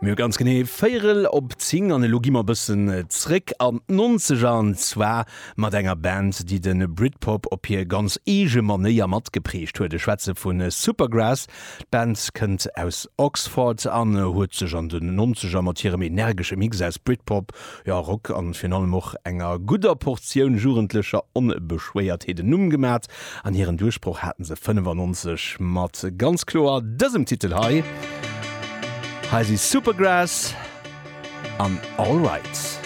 Mir hu ganz genee véierel op 10 an elo gi mer e bëssen zréck an d'Nonzeger an zwar mat enger Band, déi de Britpop op hir ganz eege Manéier matgeprägt huet. Ech schwätze vu Supergrass. D'Band kënnt aus Oxford an huet sech an den Nonzeger mat hirem energesche Mix aus Britpop, jo Rock an virun allem och enger gudder Portioun jugendlecher Onbeschwéiertheet en Numm gemat. An hiren Duerchbroch haten se 95 mat ganz kloer dësem Titel hei. Hei si Supergrass an Alright.